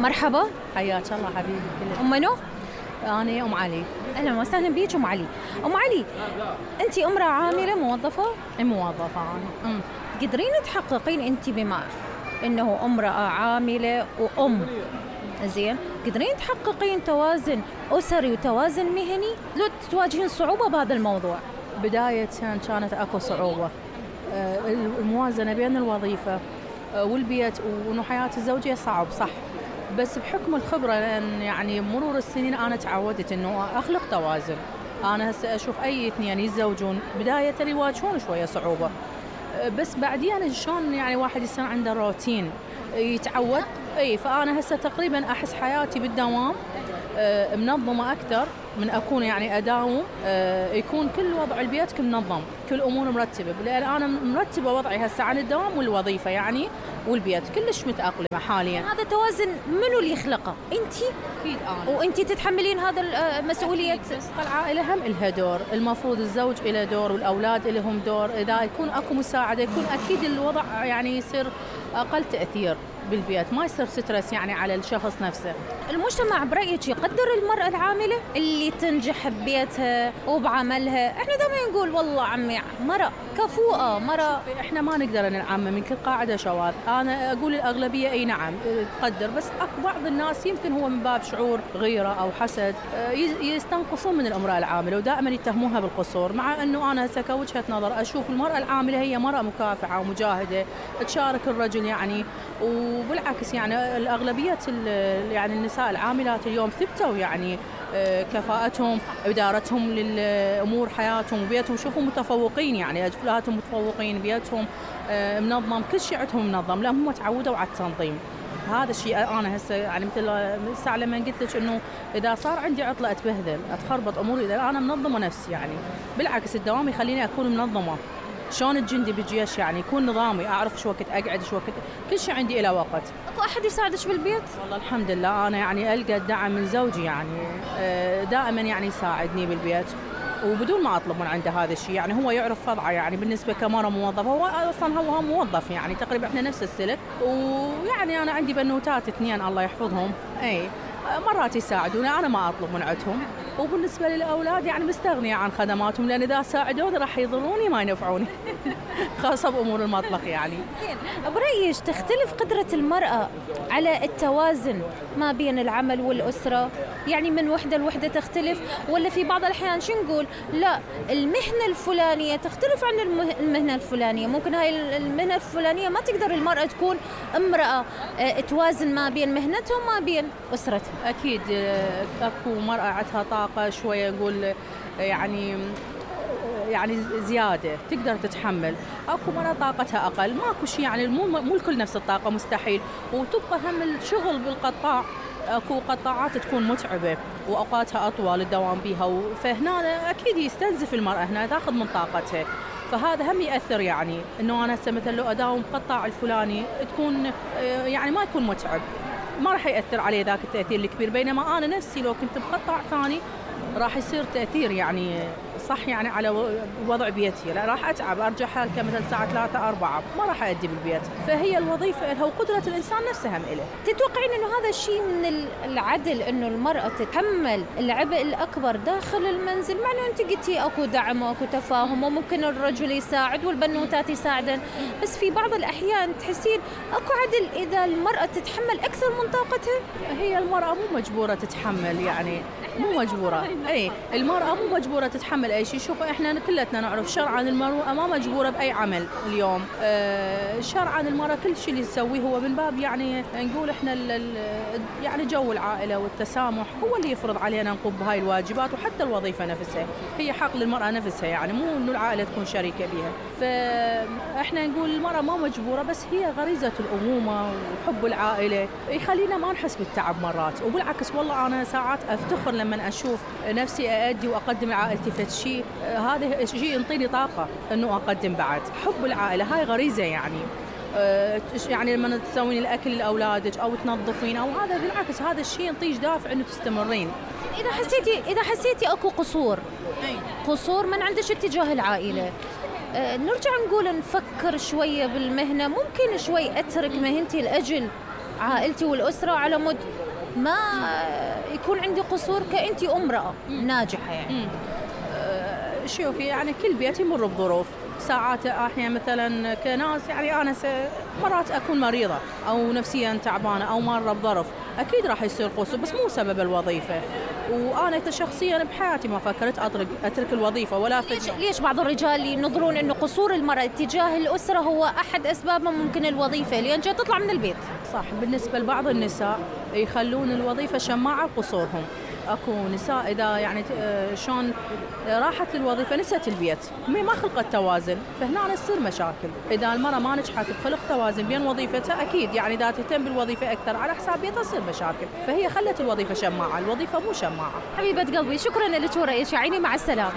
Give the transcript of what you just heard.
مرحبا. حياك الله حبيبي. أم منو؟ أنا أم علي. أهلا وسهلا بيك أم علي. أم علي، أنت امرأة عاملة موظفة؟ موظفة أنا. تقدرين تحققين أنت بما أنه امرأة عاملة وأم، زين، تقدرين تحققين توازن أسري وتوازن مهني؟ لو تواجهين صعوبة بهذا الموضوع؟ بداية كانت أكو صعوبة، الموازنة بين الوظيفة والبيت وإنه حياة الزوجية صعب صح، بس بحكم الخبرة لأن يعني مرور السنين أنا تعودت إنه أخلق توازن. أنا هسه أشوف أي اثنين يتزوجون بداية يواجهون شوية صعوبة، بس بعدين شلون يعني واحد يصير عنده روتين يتعود. فأنا هسه تقريبا أحس حياتي بالدوام منظمة أكثر من أكون يعني أداوم، يكون كل وضع البيت كل منظم، كل أمور مرتبة، لأن أنا مرتبة وضعي هسه عن الدوام والوظيفة يعني والبيت كلش متأقلمة حاليا. هذا توازن منو اللي يخلقه؟ أنتِ؟ أكيد أنا. وأنتِ تتحملين هذا المسؤولية؟ بس العائلة هم إلها دور، المفروض الزوج إله دور والأولاد إلهم دور، إذا يكون أكو مساعدة يكون أكيد الوضع يعني يصير أقل تأثير بالبيت، ما يصير سترس يعني على الشخص نفسه. المجتمع برأيك يقدر المرأة العاملة اللي تنجح ببيتها وبعملها؟ احنا دائما نقول والله عمي مرأة كفوءة، مرأة. احنا ما نقدر نعمم من كل قاعدة شواذ، انا اقول الاغلبية اي نعم تقدر، بس اكو بعض الناس يمكن هو من باب شعور غيرة او حسد يستنقصون من المرأة العاملة ودائما يتهموها بالقصور، مع انه انا هسه كوجهة نظر اشوف المرأة العاملة هي مرأة مكافحة ومجاهدة تشارك الرجل يعني، وبالعكس يعني الأغلبية يعني النساء العاملات اليوم ثبتوا يعني كفاءتهم، إدارتهم للأمور حياتهم وبيتهم، شوفوا متفوقين يعني أجلاتهم متفوقين، بيتهم منظم، كل شيء عندهم منظم لأن هم تعودوا على التنظيم. هذا الشيء أنا هسه يعني مثل الساعة لما قلت لك إنه إذا صار عندي عطلة أتبهذل أتخربط أموري، إذا أنا منظمة نفسي يعني بالعكس الدوام يخليني أكون منظمة. شلون الجندي بالجيش يعني يكون نظامي، أعرف شو وقت أقعد شو وقت، كل شيء عندي إلى وقت. أكو أحد يساعدش بالبيت؟ والله الحمد لله أنا يعني ألقى الدعم من زوجي يعني دائما يعني يساعدني بالبيت وبدون ما أطلب من عنده هذا الشيء، يعني هو يعرف وضعه يعني بالنسبة كمرة موظفة، هو أصلا هو موظف يعني تقريبا إحنا نفس السلك، ويعني أنا عندي بنوتات اثنين الله يحفظهم، مرات يساعدوني أنا ما أطلب من عندهم، وبالنسبة للأولاد يعني مستغنية عن خدماتهم لأن إذا ساعدوني راح يضروني ما ينفعوني خاصة بأمور المطبخ يعني. برأيك تختلف قدرة المرأة على التوازن ما بين العمل والأسرة؟ يعني من وحدة لوحدة تختلف، ولا في بعض الأحيان شو نقول لا المهنة الفلانية تختلف عن المهنة الفلانية، ممكن هاي المهنة الفلانية ما تقدر المرأة تكون امرأة توازن ما بين مهنتها وما بين أسرتها؟ أكيد أكو مرأة عندها طاقة شوية نقول يعني زيادة تقدر تتحمل، أكو مرة طاقتها أقل، ماكو شيء يعني مو الكل نفس الطاقة مستحيل، وتبقى هم الشغل بالقطاع، أكو قطاعات تكون متعبة وأوقاتها أطول الدوام بيها، فهنا أكيد يستنزف المرأة هنا تأخذ من طاقتها، فهذا هم يأثر يعني إنه أنا هسه مثلا لو أداوم قطاع الفلاني تكون يعني ما يكون متعب، ما راح يأثر عليه ذاك التأثير الكبير، بينما أنا نفسي لو كنت بقطاع ثاني راح يصير تأثير يعني صح يعني على وضع بيتي، لا راح أتعب أرجع حالك مثلا الساعة 3 4 ما راح أدي بالبيت، فهي الوظيفة لها وقدرة الإنسان نفسها هم إله. تتوقعين إنه هذا الشيء من العدل إنه المرأة تتحمل العبء الأكبر داخل المنزل، مع إنه أنت قلتي أكو دعم وأكو تفاهم وممكن الرجل يساعد والبنوتات يساعدن، بس في بعض الأحيان تحسين أكو عدل إذا المرأة تتحمل أكثر من طاقتها؟ هي المرأة مو مجبورة تتحمل يعني مو مجبورة، المرأة مو مجبورة تتحمل أي شيء، شوف إحنا كلتنا نعرف شرعاً المرأة ما مجبورة بأي عمل اليوم، شرعاً المرأة كل شيء اللي تسويه هو من باب يعني نقول إحنا يعني جو العائلة والتسامح هو اللي يفرض علينا نقوم بهاي الواجبات، وحتى الوظيفة نفسها هي حق للمرأة نفسها يعني مو إنه العائلة تكون شريكة بها، فإحنا نقول المرأة ما مجبورة، بس هي غريزة الأمومة وحب العائلة يخلينا ما نحس بالتعب مرات، وبالعكس والله أنا ساعات أفتخر لما أشوف نفسي أأدي وأقدم لعائلتي فد شيء، هذا شيء ينطيني طاقة إنه أقدم بعد، حب العائلة هاي غريزة يعني، يعني لما تسوين الأكل لأولادك أو تنظفين أو هذا بالعكس هذا الشيء ينطيش دافع إنه تستمرين. إذا حسيتي أكو قصور من عندك اتجاه العائلة، نرجع نقول نفكر شوية بالمهنة، ممكن شوي أترك مهنتي لأجل عائلتي والأسرة على مود ما يكون عندي قصور كأنت امرأة ناجحة يعني. شوفي يعني كل بيت يمر بظروف، ساعات احيانا مثلا كناس يعني انا مرات اكون مريضه او نفسيا تعبانه او مره بظرف، اكيد راح يصير قصور بس مو سبب الوظيفه. وانا كشخصيا بحياتي ما فكرت اترك الوظيفه ولا ليش بعض الرجال ينظرون انه قصور المراه تجاه الاسره هو احد اسبابها ممكن الوظيفه لان جاي تطلع من البيت؟ صح، بالنسبه لبعض النساء يخلون الوظيفه شماعه قصورهم. اكو نساء اذا يعني شلون راحت للوظيفه نسيت البيت، ما خلقت توازن، فهنا تصير مشاكل. اذا المراه ما نجحت بخلق توازن بين وظيفتها اكيد يعني اذا تهتم بالوظيفه اكثر على حساب بيتها تصير مشاكل، فهي خلت الوظيفه شماعه، الوظيفه مو شماعه. حبيبه قلبي شكرا لك ورأيك، عيني مع السلامه.